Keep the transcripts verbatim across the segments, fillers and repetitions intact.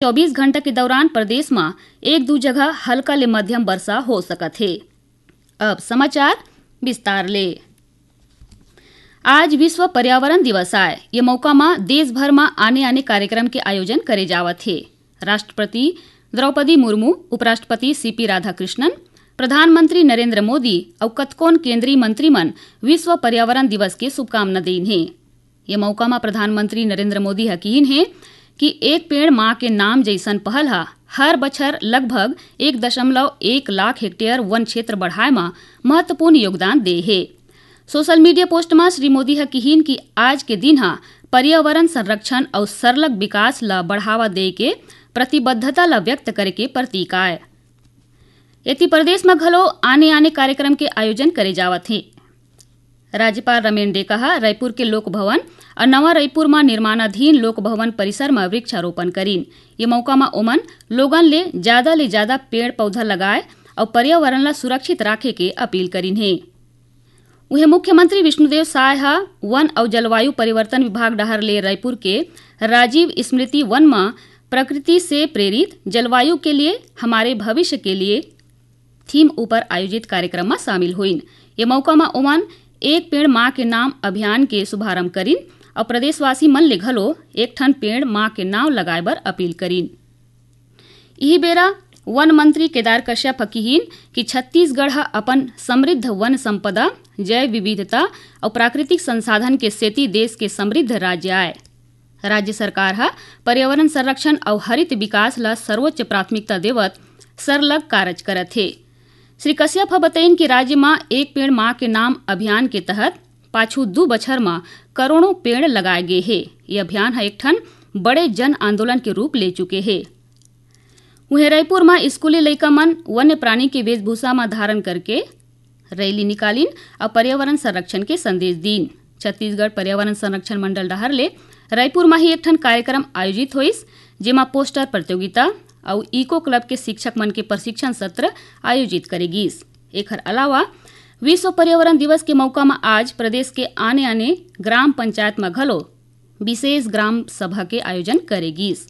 चौबीस घंटा के दौरान प्रदेश म एक दू जगह हल्का ले मध्यम वर्षा हो सकत हे। अब समाचार विस्तार ले। आज विश्व पर्यावरण दिवस आय। ये मौका म देश भर म आने-आने कार्यक्रम के आयोजन करे जावत हे। राष्ट्रपति द्रौपदी मुर्मू, उपराष्ट्रपति सीपी राधाकृष्णन, प्रधानमंत्री नरेंद्र मोदी अउ कतकोन केंद्रीय मंत्री मन विश्व पर्यावरण दिवस के शुभकामना दीन हे। ये मौका म प्रधानमंत्री नरेंद्र मोदी ह किहीन हे कि एक पेड़ मां के नाम जइसन पहल ह हर बछर लगभग एक दशमलव एक लाख हेक्टेयर वन क्षेत्र बढ़ाए म महत्वपूर्ण योगदान दे हे। सोशल मीडिया पोस्ट म श्री मोदी ह किहीन कि आज के दिन ह पर्यावरण संरक्षण अउ सरलग विकास ल बढ़ावा दे के प्रतिबद्धता ल व्यक्त करे के प्रतीक आय। एती प्रदेश म घलो आने-आने कार्यक्रम के आयोजन करे जावत हे। राज्यपाल रमेन डेका ह रायपुर के लोक भवन अउ नवा रायपुर म निर्माणाधीन लोक भवन परिसर म वृक्षारोपण करीन। ये मौका म ओमन लोगन ले ज्यादा ले ज्यादा पेड़ पौधा लगाए अउ पर्यावरण ल सुरक्षित राखे के अपील करीन हे। उहें मुख्यमंत्री विष्णुदेव साय ह वन अउ जलवायु परिवर्तन विभाग डहार ले रायपुर के राजीव स्मृति वन म प्रकृति से प्रेरित जलवायु के लिए हमारे भविष्य के लिए थीम ऊपर आयोजित कार्यक्रम म शामिल होइन। ये मौका म ओमन एक पेड़ मां के नाम अभियान के शुभारंभ करिन अउ प्रदेशवासी मन ले घलो एक ठन पेड़ मां के नाम लगाए बर अपील करिन। इही बेरा वन मंत्री केदार कश्यप ह किहीन कि छत्तीसगढ़ ह अपन समृद्ध वन संपदा, जैव विविधता अउ प्राकृतिक संसाधन के सेती देश के समृद्ध राज्य आय। राज्य सरकार ह पर्यावरण संरक्षण अउ हरित विकास ल सर्वोच्च प्राथमिकता देवत सरलग कारज करत हे। श्री कश्यप ह बतइन कि राज्य म एक पेड़ मां के नाम अभियान के तहत पाछू दू बछर म करोड़ों पेड़ लगाए गे हे। ये अभियान ह एक ठन बड़े जन आंदोलन के रूप ले चुके हे। उहें, रायपुर म स्कूली लइका मन वन्य प्राणी के वेशभूषा म धारण करके रैली निकालिन अउ पर्यावरण संरक्षण के संदेश दीन। छत्तीसगढ़ पर्यावरण संरक्षण मंडल डहार ले रायपुर म ही एक ठन कार्यक्रम आयोजित होइस, जेमा पोस्टर प्रतियोगिता अउ इको क्लब के शिक्षक मन के प्रशिक्षण सत्र आयोजित करे गीस। एखर अलावा विश्व पर्यावरण दिवस के मौका म आज प्रदेश के आने-आने ग्राम पंचायत म घलो विशेष ग्राम सभा के आयोजन करे गीस।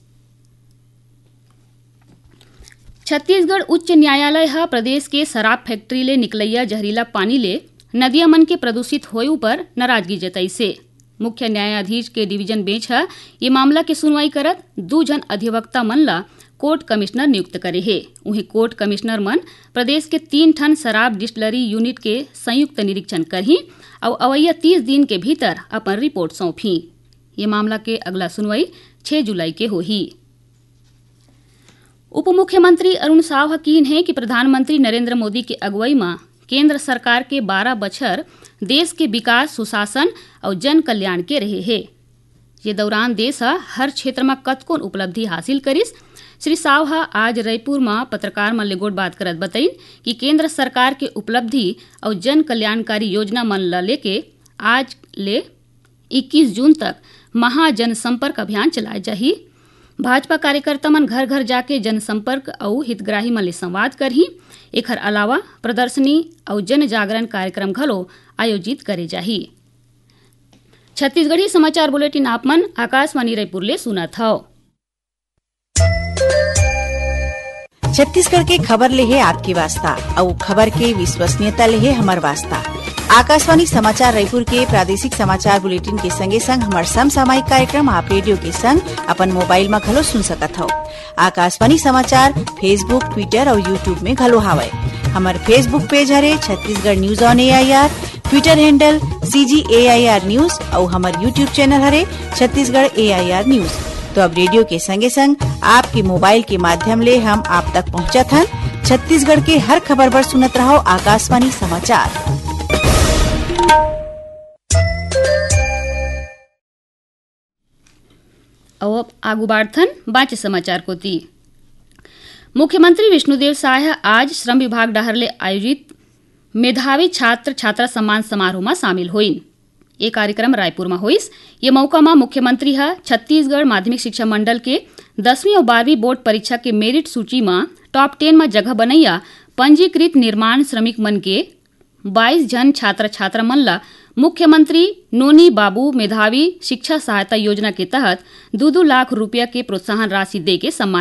छत्तीसगढ़ उच्च न्यायालय ह प्रदेश के शराब फैक्ट्री ले निकलइया जहरीला पानी ले नदिया मन के प्रदूषित होए उपर नाराजगी जताइसे। मुख्य न्यायाधीश के डिवीजन बेंच ह ये मामला के सुनवाई करत दू झन अधिवक्ता मन ल कोर्ट कमिश्नर नियुक्त करे हे। उहें, कोर्ट कमिश्नर मन प्रदेश के तीन ठन शराब डिस्टिलरी यूनिट के संयुक्त निरीक्षण करही अउ अवइया तीस दिन के भीतर अपन रिपोर्ट सौंपही। ये मामला के अगला सुनवाई छह जुलाई के होही। उप मुख्यमंत्री अरुण साव ह किहीन हे कि प्रधानमंत्री नरेंद्र मोदी के अगुवई म केंद्र सरकार के बारह बछर देश के विकास, सुशासन अउ जन कल्याण के रहे हे। ये दौरान देश ह हर क्षेत्र म कतकोन उपलब्धि हासिल करिस। श्री साव ह आज रईपुर म पत्रकार मन ले गोठबात करत बतइन कि केंद्र सरकार के उपलब्धि अउ जन कल्याणकारी योजना मन ल लेके आज ले इक्कीस जून तक महाजनसंपर्क अभियान चलाए जाही। भाजपा कार्यकर्ता मन घर-घर जाके जनसंपर्क अउ हितग्राही मन ले संवाद करही। एखर अलावा प्रदर्शनी अउ जन जागरण कार्यक्रम घलो आयोजित करे जाही। छत्तीसगढ़ी समाचार बुलेटिन आप मन आकाशवाणी रायपुर ले सुनत हव। छत्तीसगढ़ के खबर ले हे आपके वास्ता, अउ खबर के विश्वसनीयता ले हे हमर वास्ता। आकाशवाणी समाचार रायपुर के प्रादेशिक समाचार बुलेटिन के संगे संग हमर समसामयिक कार्यक्रम आप रेडियो के संग अपन मोबाइल म घलो सुन सकत हव। आकाशवाणी समाचार Facebook, Twitter अउ YouTube में घलो हावय। हमर Facebook पेज हरे Chhattisgarh news on AIR, Twitter handle CG AIR news अउ हमर YouTube चैनल हरे छत्तीसगढ़ एआईआर न्यूज। तो अब रेडियो के संगे संग आपके मोबाइल के माध्यम ले हम आप तक पहुंचत हन। छत्तीसगढ़ के हर खबर बर सुनत रहव आकाशवाणी समाचार। अउ अब आगू बाढ़थन बांचे समाचार कोती। मुख्यमंत्री विष्णुदेव साय ह आज श्रम विभाग डहार ले आयोजित मेधावी छात्र छात्रा सम्मान समारोह म शामिल होइन। ये कार्यक्रम रायपुर म होइस। ये मौका म मुख्यमंत्री ह छत्तीसगढ़ माध्यमिक शिक्षा मंडल के दसवीं अउ बारहवीं बोर्ड परीक्षा के मेरिट सूची म टॉप टेन म जगह बनइया पंजीकृत निर्माण श्रमिक मन के बाईस झन छात्र छात्रा मन ल मुख्यमंत्री नोनी बाबू मेधावी शिक्षा सहायता योजना के तहत दू दू लाख रुपया के प्रोत्साहन राशि दे के सम्मानित